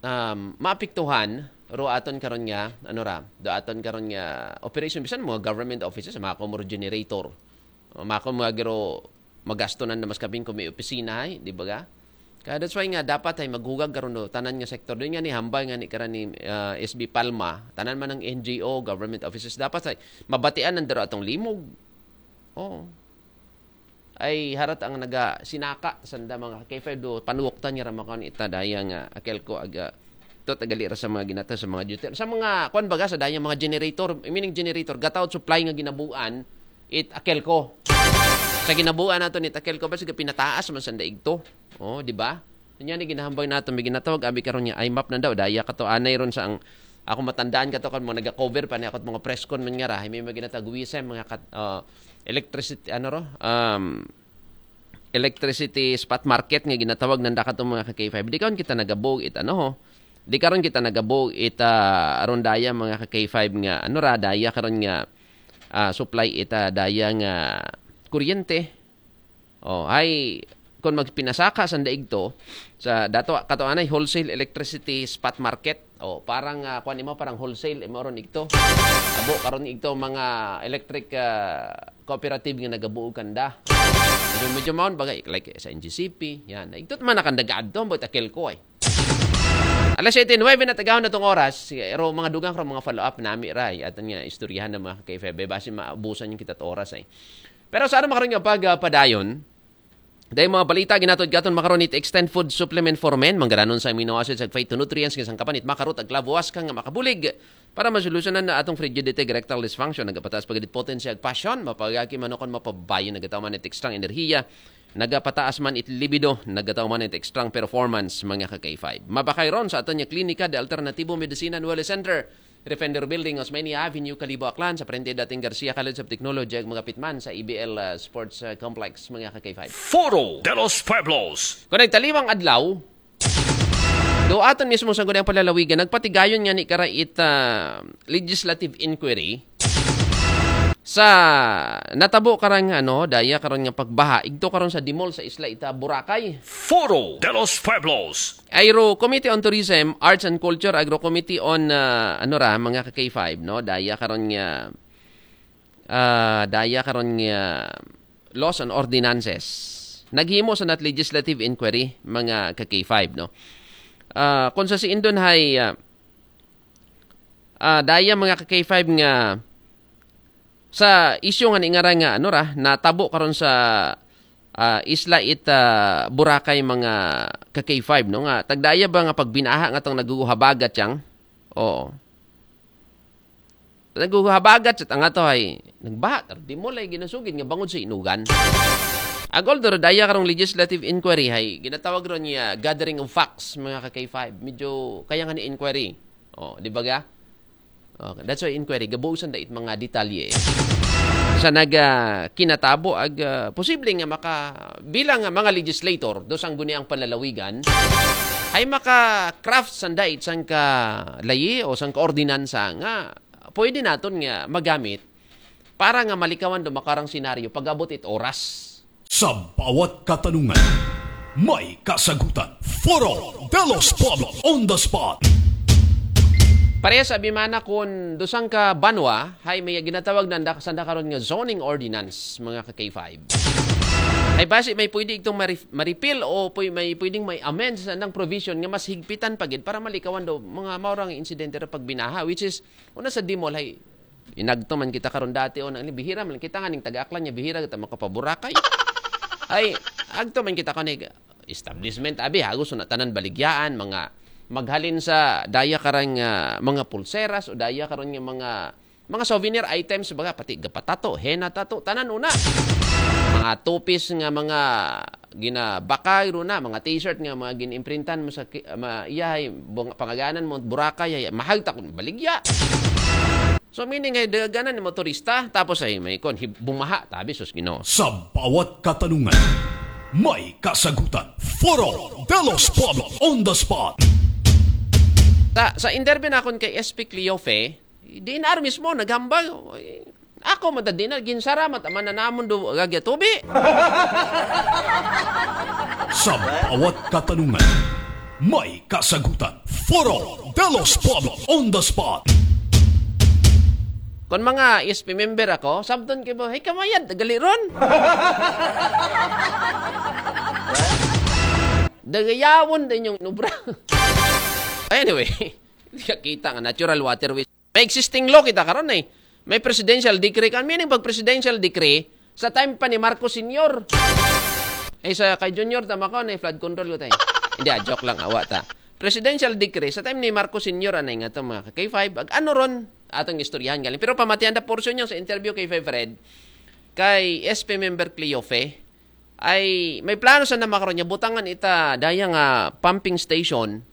Um, maapektuhan ro aton karon nga ano ra, do aton karon nga operation bisan mga government offices, mga kumuro generator. Mga kumuro magasto nan na mas kabing kung may opisina ay, di ba ga? Kaya that's why nga dapat ay maghugag karon do tanan nga sektor. Doon nga ni hambal nga ni karan ni ah, S B Palma, tanan man ang N G O, government offices dapat ay mabatian nan daro atong limog. Oo. Ay harat ang naga sinaka sanda mga K five do panuwoktan nga ra makaon ita daya nga akelko aga to tagali ra sa mga ginata sa mga duty sa mga kwan baga sa daya mga generator, meaning generator, gataw supply nga ginabuan it akelko. Sa ginabuan nato ni akelko ba sige pinataas man sanda igto. Oh, di ba? Nya ni ginahambay nato may ginatawag abi karon nga I map na daw daya kato anay ron sa ang ako matandaan kato kan mga naga-cover pa ni ako mga press con man nga ra, may mga ginatawag wisem, mga kat, ah, electricity ano ro, um, electricity spot market nga ginatawag nanda kato mga ka K five. Di karon kita nagabog it ano ho. Di karon kita nagabog it ah, aron daya mga ka K five nga ano ra daya karon nga ah, supply ita daya nga kuryente. Oh, ay kung magpinasaka sanda igto sa dato kato anay wholesale electricity spot market. Oh, parang ah, kuan imo parang wholesale imo ron igto. Abo karon igto mga electric ah, cooperative nga nagabuo kanda. Medyo, medyo maon bagay like sa N G C P, yan. Igto man nakanda gaadto, ambot akelko ay. Alas siyete nuwebe na tagahon na tong oras, pero mga dugang karon mga follow-up nami ra ay aton nga istoryahan ng mga ka K five basi maabusan yung kita oras ay. Pero sa ano makaron nga pagpadayon, dahil mga balita ginatod gaton makaron it extend food supplement for men, manggaranon sa amino acids ag phytonutrients nga sangkapan it makarot ag labuas ka nga makabulig para masolusyonan na atong frigidity ag erectile dysfunction, nagapataas pagidit potency ag passion, mapagaki manukon mapabayo nagataw man it extrang enerhiya, nagapataas man it libido, nagataw man it extrang performance mga ka K five. Mabakay ron sa aton nga klinika de alternatibo medicina and wellness center. Refender Building, Osmeña Avenue, Kalibo, Aklan, sa frente dating Garcia College of Technology, ag magapit man sa E B L uh, Sports uh, Complex, mga ka K five. Foro de los Pueblos. Kung nagtaliwang adlaw, do aton mismo sa gunang palalawigan, nagpatigayon nga ni karait uh, legislative inquiry sa natabo karang ano, daya karon nga pagbaha, igto karon sa Dimol sa isla ita Boracay. Foro de los Pueblos. Agro Committee on Tourism, Arts and Culture, Agro Committee on uh, ano ra mga ka K five no, daya karon nga uh, daya karon nga laws and ordinances. Naghimo sa nat legislative inquiry mga ka K five no. Uh, kung sa si Indon hay uh, uh, daya mga ka K five nga sa isyu nga ni nga ra nga ano ra natabo karon sa ah, isla it ah, Boracay mga ka K five no nga tagdaya ba nga pagbinaha nga tong naguhabagat yang oo naguhabagat sa tanga to ay nagbaha tar di mo lay ginasugid nga bangod sa inugan agol do daya karong legislative inquiry hay ginatawag ron niya gathering of facts mga ka K five medyo kaya nga ni inquiry oh di ba ga Okay, that's why inquiry, gabuusan da it mga detalye. Sa naga kinatabo ag ah, posible nga maka bilang nga mga legislator do sang guniang panlalawigan ay maka craft sanda it sang ka layi o sang ka ordinansa nga pwede naton nga magamit para nga malikawan do makarang senaryo pag-abot it oras. Sa bawat katanungan, may kasagutan. Foro de los Pueblos on the spot. Parehas abi man na kon do sangka banwa, hay may ginatawag nanda, sanda karon nga zoning ordinance, mga ka K five. Hay basi may pwede itong ma-re-, ma-repeal o pwe-, may pwedeng may amend sa andang provision nga mas higpitan pa gid para malikawan do mga mao ra nga insidente ra pagbinaha, which is, una sa demol, hay, inagto man kita karon dati, o, nang bihira man kita nga ning taga-Aklan nga bihira kita makapaburakay. Ay, agto man kita karon, establishment, abi, hagos na tanan baligyaan, mga maghalin sa daya karang, ah, mga pulseras o daya karon nga mga, mga souvenir items, baga, pati gapatato, henna tato, tanan una. Mga tupis nga mga ginabakay ro na, mga t-shirt nga mga ginimprintan mo sa ki-, ma-, iyahay, bung-, pangaganan mo, Boracay, ay, mahal ta kung baligya. So, meaning, ay, daganan ni motorista, tapos ay, may kon, hib-, bumaha, tabi, sus, Ginoo. Sa bawat katanungan, may kasagutan. Foro de los Pueblos on the spot. Sa, sa interview nakon kay S P Cleofe, D N R mismo, naghambal. Ay, ako, madad D N R, ginsara, mat-, mananamon do, gagya tubi. Sa bawat katanungan, may kasagutan. Foro de los Pueblos on the spot. Kon mga S P member ako, sabton kay ba, "Hey, kamayad, gali ron." Dagayawon din yung nubra. Anyway, kita nga natural waterways. May existing law kita karon eh. May presidential decree kan. Meaning pag presidential decree, sa time pa ni Marcos Senior. Eh, sa kay Junior, tama ko, na flood control ko tayo. Hindi, ah, joke lang, awa ta. Presidential decree, sa time ni Marcos Senior, anay nga to, mga K five, ag ano ron, atong istoryahan galing. Pero pamatian da portion yung sa interview kay Five Fred, kay S P member Cleofe, ay may plano sa namakaroon niya, butangan ita, daya nga pumping station,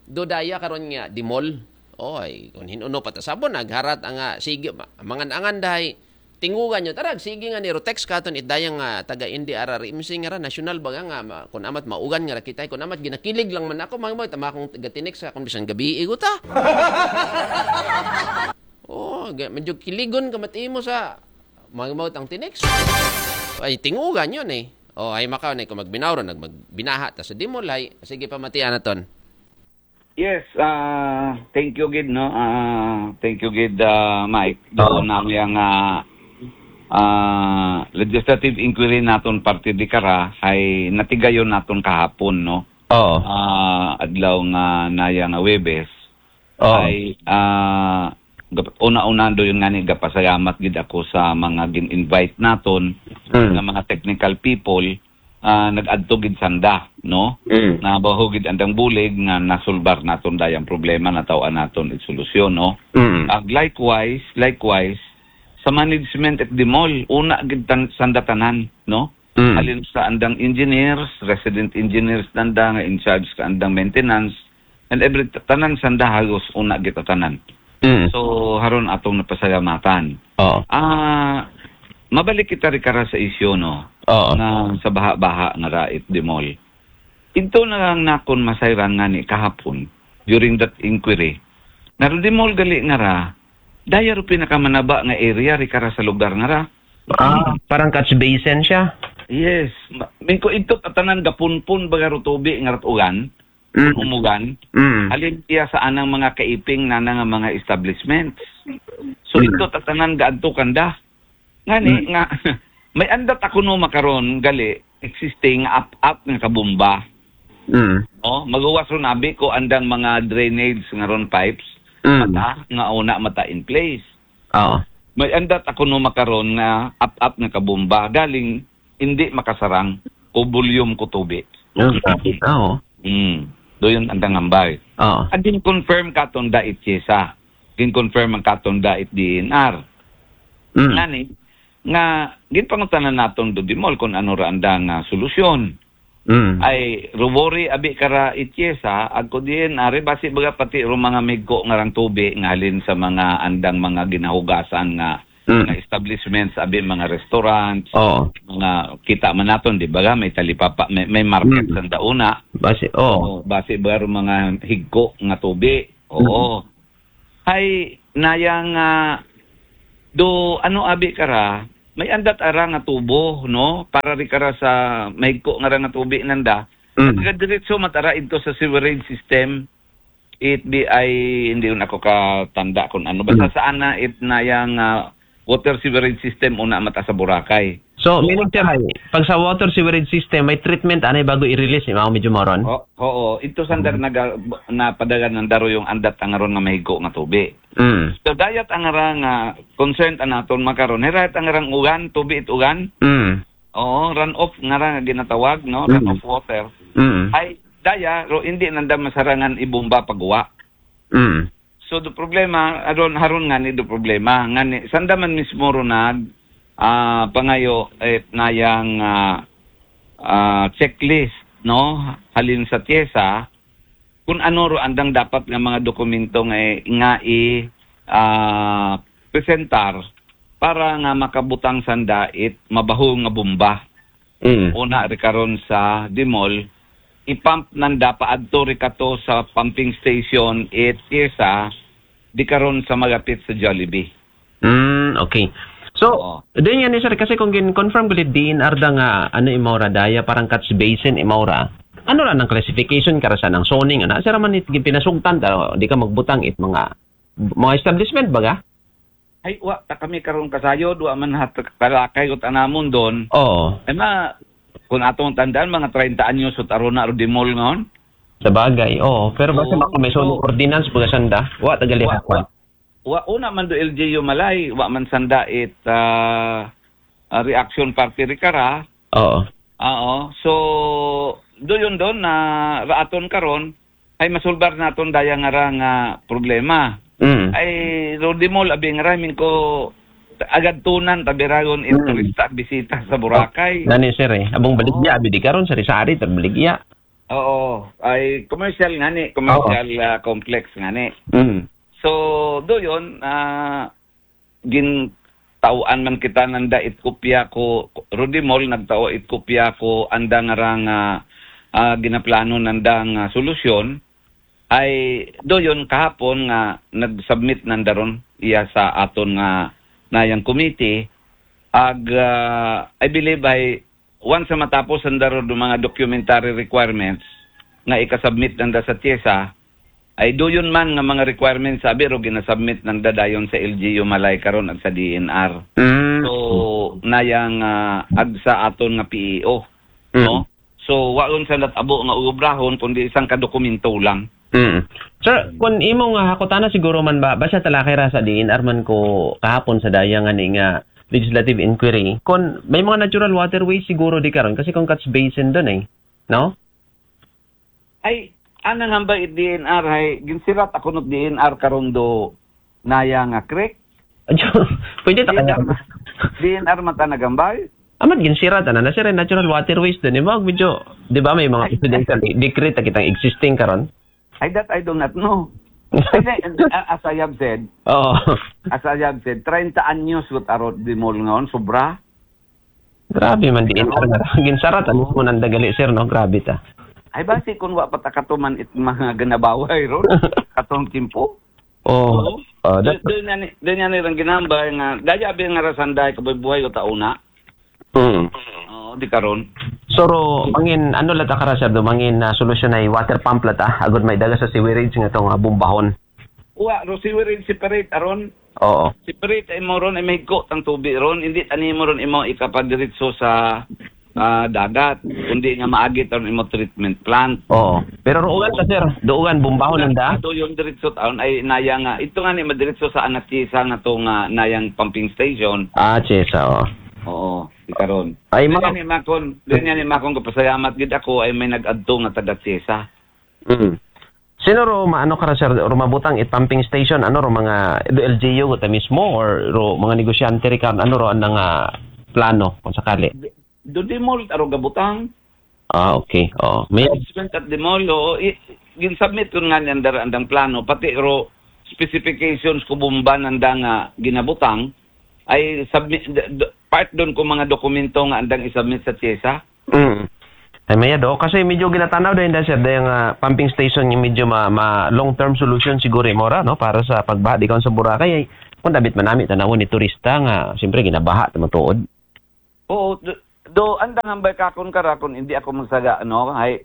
do daya karon nga demol. Oy, kung hinuno pa ta sabon, nagharat ang, ah, sige, ma-, mangan-angan dahay, tingugan nyo, tarag, sige nga niro, text katon it dayang, ah, taga N D R R M C nga ra, national baga nga, ma-, kung amat maugan nga ra kita, kung amat ginakilig lang man ako, mga mga tama akong taga-tinext sa kung bisan gabi, igo ta. Oh, ga-, medyo kiligon ka matimo sa mga mga tang tinext. Ay, tingugan yun eh. Oh, ay makaw na kung magbinaw ron, nag-, magbinaha ta sa demol, ay, sige, pamatian naton. Yes, ah, thank you gid, no? Ah, thank you gid, ah, Mike. Oo. Doon na yang, ah, ah, legislative inquiry naton parte di kara ay natigayon naton kahapon, no? Oo. Ah, adlaw nga naya nga Webes. Oo. Ay, ah, gap-, una-una do yun nga ni gapasalamat gid ako sa mga gin-invite naton Mm. nga mga technical people, ah, nag-adto gid sanda, no? Mm. Na baho gid andang bulig nga nasulbar naton dayang problema, nataw-an naton it solusyon, no? Mm. Ag likewise, likewise, sa management at the mall, una gid tan-, sanda tanan, no? Mm. Halin sa andang engineers, resident engineers nanda nga in charge ka andang maintenance, and every tanan sanda halos una gid tanan. Mm. So, haron atong napasalamatan. Oo. Ah, mabalik kita ri kara sa isyu, no? Oo. Nga sa baha-baha nga ra it the mall. Ito na lang nakon masayran nga ni kahapon, during that inquiry. Nga ro the mall gali nga ra, daya ro pinakamanaba nga area ri kara sa lugar nga ra. Ah, parang catch basin siya. Yes. Ma-, mingko ito tanan gapunpun baga ro tubi nga rat ulan. Mm. Umugan. Mm. Halin iya sa anang mga kaiping na nga mga establishments. So, Mm. ito tanan gaadto kanda. Ngani Mm. nga, may andat ako no makaron, gali, existing up-up nga kabomba. Mm. No? Magawas ron abi ko andang mga drainage nga ron pipes. Mm. Mata, nga una mata in place. Oo. May andat ako no makaron nga up-up nga kabomba, galing hindi makasarang ko volume ko tubi. Yung traffic, ah, oo. Mm. Do yun ang tangambay. Oo. Ang gin-confirm katon da it CHESA. Gin-confirm ang katon da it D N R. Mm. Ngani, nga, ginpangutanan naton do di mall kung ano ra andang, ah, solusyon. Mm. Ay, ruwori abi kara it CHESA, agko D N R, basi baga pati ro mga migko nga rang tubi nga halin sa mga andang mga ginahugasan nga Mm. mga establishments, abi, mga restaurants, Oo. mga kita man naton, di ba, may talipapa, may, may market Mm. sa dauna. Basi, oo. Oo, basi ba ro mga higko nga tubi? Oo. Mm. Hay, nayang, ah, do, ano, abi kara, may andat ara nga tubo, no? Para ri kara sa mahigko nga ra nga tubi nanda. Mm. At diretso matara ito sa sewerage system. It di ay, hindi yun ako katanda kung ano. Basta Mm. saan na it nayang, ah, water sewerage system una mata sa Boracay. So, meaning, sir, ay, pag sa water sewerage system, may treatment anay bago i-release, di ba, medyo moron? O, oo. Ito sanda Mm. naga-, napadagan ng daro yung andat ang aron nga mahigo nga tubi. Mm. So, dayat ang ara nga concern anaton makaron. Hirayat ang arang ugan, tubi it ugan. Mm. Oo, runoff nga ra nga ginatawag, no? Mm. Runoff water. Mm. Ay, daya, ro, hindi nanda masarangan ibumba pagwa. Mm. So, do problema, aron, haron nga ni do problema. Nga ni, sanda man mismo ro nag, ah, pangayo, eh, nayang, ah, ah, checklist, no? Halin sa TIESA, kung ano ro andang dapat nga mga dokumento nga, nga i, ah, presentar para nga makabutang sanda it mabaho nga bomba. Mm. Una ri karon sa Dimol, i-pump nanda paadto ri kato sa pumping station it TIESA, di karon sa magapit sa Jollibee. Mm, okay. So, Oo. Din yan, sir, kasi kung gin-confirm gulit D N R da nga, ano, imaura daya, parang catch basin imaura. Ano ra nang classification kara sa nang zoning, ano? Sir, man it pinasugtan, ta, di ka magbutang it mga, mga establishment, baga? Ay, wa, ta kami karon kasayod, wa man hat kalakay ko tanamon doon. Oo. Ay, ma, kung atong tandaan, mga treinta anyos, ut arona, ro Dimol ngayon. Sa bagay, oo. Pero basta Oo. Baka may zoning Wa-, ordinance, baga sanda. Wa, tagali wa, hakwan. Wa, wa, una man do L G U Malay, wa man sanda it, ah, ah, reaction party ri kara. Oo. Oo. So, do yun doon na raaton karon, ay masulbar naton daya nga ra nga problema. Mm. Ay, ro Dimol, abi nga ra, min ko, agad tunan, tabiragon, in Mm. turista, bisita sa Boracay. Nani, sir, eh. Abong baligya, Oo. Abi di karon, sari-sari, tabligya. Oo. Ay, commercial nga ni, commercial, Oo. ah, complex nga ni. Mm. So, do yun, ah, gin-, tauan man kita nanda it kopya ko, Rudy Mall, nagtao it kopya ko, anda nga ra nga, ah, ginaplano nanda nga solusyon, ay do yun kahapon nga nag-submit nanda ron iya sa aton nga nayang committee, ag, ah, I believe ay once sa matapos nanda ron do mga documentary requirements nga ikasubmit nanda sa TIESA, ay do yun man nga mga requirements, abi ro, ginasubmit nanda dayon sa L G U Malay karon ag sa D N R. Mm. So, nayang, ah, ag sa aton nga P E O, Mm. no? So, wa ron sa natabo nga uobrahon, kundi isang kadokumento lang. Mm. Sir, Mm. kun imo nga hakutana siguro man ba, basta talakay ra sa D N R man ko kahapon sa daya nga ni nga legislative inquiry, kun may mga natural waterways siguro di karon, kasi kung catch basin dun eh, no? Ay, anang hambay it D N R, hay, ginsirat ako not D N R karon do naya nga creek. Adyo, pwede ta D N R kaya? ma-, D N R man ta nagambay? Amat ginsirat, ano, na sir, natural waterways dun, eh, mo, medyo, di ba, may mga Ay. presidential de-, decree ta kitang existing karon? Ay, that I do not know. Ay, di, a-, as I have said, Oo. as I have said, treinta anyos with arot di mall ngayon, sobra. Grabe man, di Ano? Ginsarat, ano Oo. mo nang dagali, sir, no? Grabe ta. Ay, basi kung wa pa ta katuman it mga ganabaway ron, katong timpo. Oo. Oo. Ah, Do-, that doon yan, doon yan nilang ginambay nga, daya abi nga rasanday, kabuhay-buhay o tauna. Hmm. Oo, di karon. So, ro, mangin, ano lata kara, sir, do, mangin, ah, solusyon ay water pump lata, agud may daga sa sewerage nga tong, ah, bumbahon. Wa, ro sewerage separate, aron. Oo. Separate ay mo ron, ay may higko tang tubi ron, hindi tani mo ron imo ikapadiretso sa, ah, dagat, kundi nga maagit ron imo treatment plant. Oo. Pero ruugan ta, sir, duugan, bumbahon lang da? Do yung diretso taon ay naya nga, ito nga ni madiretso sa anak isa nga to nga nayang pumping station. Ah, TIESA, oo. Oo, di karon. Ay, Doon mga yan ni Makon, doon yan ni Makon, kapasayamat gid ako ay may nag-adto nga taga TIESA. Mm. Sino ro maano kara, sir, ro mabutang it pumping station, ano ro mga do L G U ta mismo or ro mga negosyante ri karon, ano ro anang, ah, plano kung sakali? Do di mall aro gabutang. Ah, okay. Oo. May Management at di mall, oo. I-, gin-submit ko nga niyan dara andang plano, pati ro specifications ko bomba nanda nga ginabutang, ay submit, d-, d-, part doon ko mga dokumento nga andang isubmit sa TIESA. Mm. Ay, maya do. Kasi medyo ginatanaw din dahil, sir, dahil nga pumping station yung medyo ma-, ma-, long-term solution siguro, eh, mora, no? Para sa pagbaha, di kaon sa Boracay, ay, kung dabit manami, tanawon ni turista nga, siyempre, ginabaha, ta matuod. Oo, do, do, andang hambay kakon kara, kung hindi ako magsaga, ano, ay,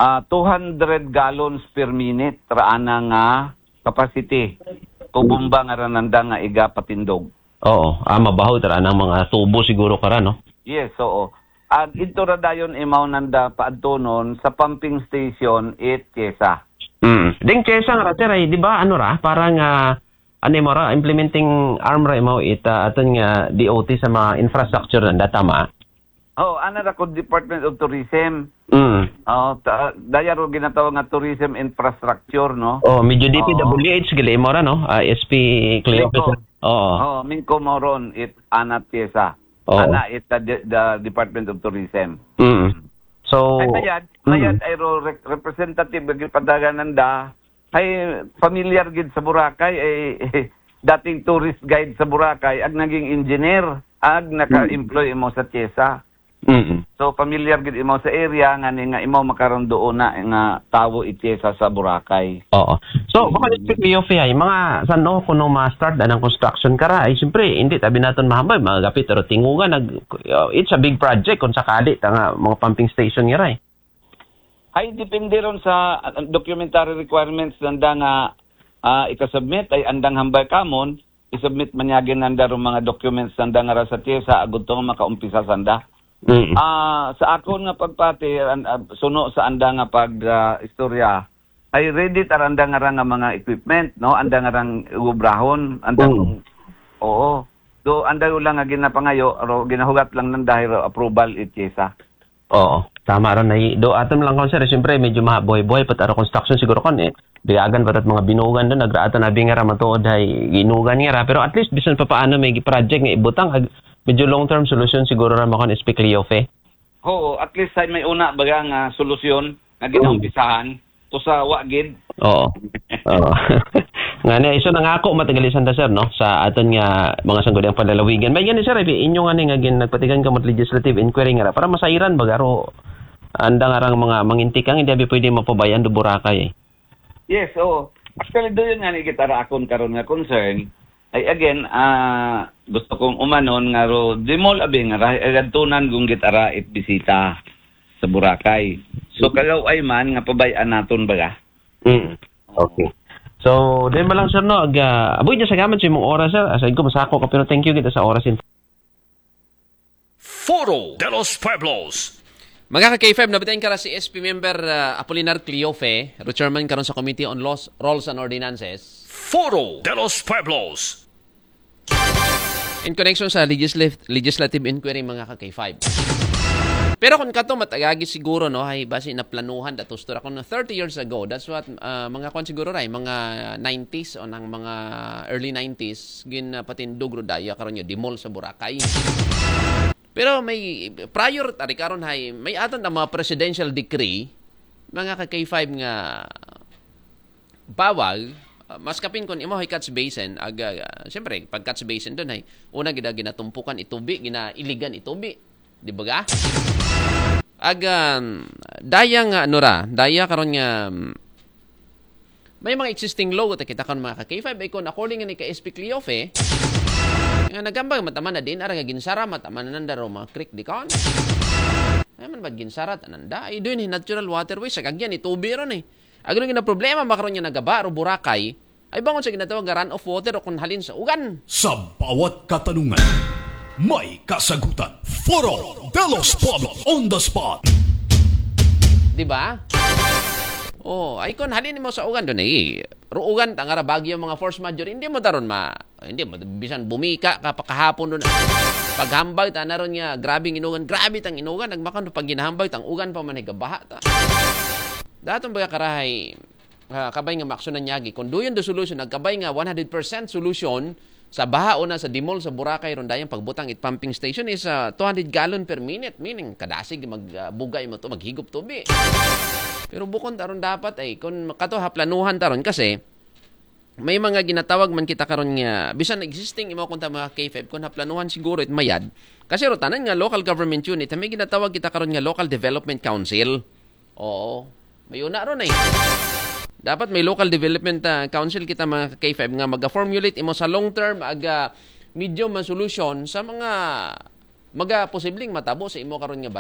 ah, two hundred gallons per minute ra ana nga capacity ko bomba nga ra nanda nga igapatindog. Oo, ah, mabaho tara ng mga tubo siguro kara, no? Yes, oo. Ag ito ra dayon imaw nanda paadtonon sa pumping station it Chiesa. Mm. Ding Chiesa nga ra, sir, ay, di ba, ano ra, parang, ah, ano mo ra, implementing arm ra imaw ita aton nga D O T sa mga infrastructure nanda, tama? Oh, ana ra ko Department of Tourism. Mm. Oh, ta- daya ro ginatawag nga tourism infrastructure, no? Oh, medyo Oo. D P W H gili mo ra, no? Ah, S P Cleopas. Mingko. Oo. Oh, mingko mo ron it ana Chiesa. Oo. Ana it the, the Department of Tourism. Mm. So, Ay, mayad, mm. mayad ay ro re- representative lagi padagan nanda. Ay familiar gid sa Boracay, ay dating tourist guide sa Boracay, ag naging engineer, ag naka-employ imo sa Chiesa. Mm. So familiar gid imo sa area nga ni nga imo makaroon doon na nga tawo it Chiesa sa Boracay. Oo. So, baka Mm. speak Leo Fe, ay, mga sano kuno ma-start anang construction kara, ay siyempre, hindi tabi naton mahambay, mga gapit, pero tingugan, nag, uh, it's a big project kung sakali ta nga mga pumping station nga ray. Ay, depende ron sa uh, documentary requirements nanda nga ah, ika-submit ay andang hambay kamon, i-submit manyagin nanda ron mga documents nanda nga ra sa Chiesa agud to nga makaumpisa sanda. Mm. Ah, sa akon nga pagpati, an- ah, suno sa anda nga pag ah, istorya, ay ready tar anda nga ra nga mga equipment, no? Anda nga rang ubrahon, anda Mm. kung, oo. Do anda lang nga ginapangayo, ro ginahugat lang nanda ro approval it Chiesa. Oo, tama ron. Ay, do aton lang kon, sir, siyempre medyo mabuhay-buhay pa taro construction siguro kon eh. Biyagan pa tat mga binugan doon, nagraatan na bingara matuod ay ginugan nga ra. Pero at least bisan pa paano may project nga ibutang, ag- medyo long-term solution siguro ra makon S P Cleofe. Oo, at least ay may una baga nga solusyon nga Mm. ginaumpisahan. Tusa wa gid. Oo. Oo. Nga na, iso nangako matagalisan ta, sir, no? Sa aton nga mga sangguniang panlalawigan. May gani, sir, ay inyo nga ni nga gin nagpatigan ka mo legislative inquiry nga ra para masairan baga ro anda nga rang mga mangintikang hindi abi pwede mapabayan do Boracay. Yes, oo. Actually, do yun nga ni gitara akon karon nga concern. Ay again, ah, gusto kong umanon nga ro, di mo labi nga ra, agadtunan kung gitara it bisita sa Boracay. So, kalaw ay man nga pabayaan naton baga. Mm. Okay. So, then ba lang, sir, no? Ag, ah, aboy niya sa gaman sa imong oras, sir. Aside ko, masako ka, pero thank you kita sa oras. In- Foro de los Pueblos. Mga ka-K five, nabitayin ka ra si S P member ah, Apolinar Cleofe, ro chairman karon sa Committee on Laws, Rules and Ordinances. Foro de los Pueblos. In connection sa legisla- legislative inquiry, mga ka-K five. Pero kung kato matagagi siguro, no, ay basi naplanuhan datos to ra kung thirty years ago. That's what ah, mga kwan siguro ray, mga nineties o nang mga early nineties, gin ah, patindog ro daya karon nga demol sa Boracay. Pero may prior tari karon hay may aton ang mga presidential decree, mga ka-K five, nga bawal, ah, mas kapin kon imo hay catch basin, ag ah, siyempre pag catch basin doon hay una gida ginatumpukan itubi, ginailigan itubi, di ba ga? Ag ah, daya nga ano ra, daya karon nga mm, may mga existing law ta kita kan mga ka-K five ay kon according ni ka S P Cleofe nga nagambag mataman na din ara nga ginsara mataman na nanda ro mga creek di kon ay man ba ginsara tananda ay doon natural waterways sa kagyan itubi ron eh. Agro nga problema makaron nga nagaba ro Boracay ay bangon sa ginatawag nga run off water o kung halin sa ugan. Sa bawat katanungan, may kasagutan. Foro de los Pueblos on the spot. Di ba? Oh, ay kon halin mo sa ugan doon eh. Ruugan tangara bagyo mga force major, hindi mo taron ma hindi mo bisan bumika ka pakahapon doon. Paghambag ta na ron nga grabing inugan, grabe tang inugan, nagmakan pag ginahambag tang ugan pa man higabaha ta. Daton ba karahay ah, kabay nga maksyonan niya agi. Kung duyon do solution, nagkabay nga one hundred percent solution sa baha una sa Dimol sa Boracay ron dayang pagbutang it pumping station is ah, two hundred gallon per minute, meaning kadasig mag ah, bugay mo to maghigop tubi. Pero bukon taron dapat ay kung kato ha planuhan taron kasi may mga ginatawag man kita karon nga bisan existing imo kung ta mga K five kung ha planuhan siguro it mayad kasi ro tanan nga local government unit may ginatawag kita karon nga local development council. Oo. May una ron eh. Dapat may local development ah, council kita mga K five nga maga-formulate imo sa long term aga medium nga solusyon sa mga maga posibleng matabo sa imo karon nga banwa.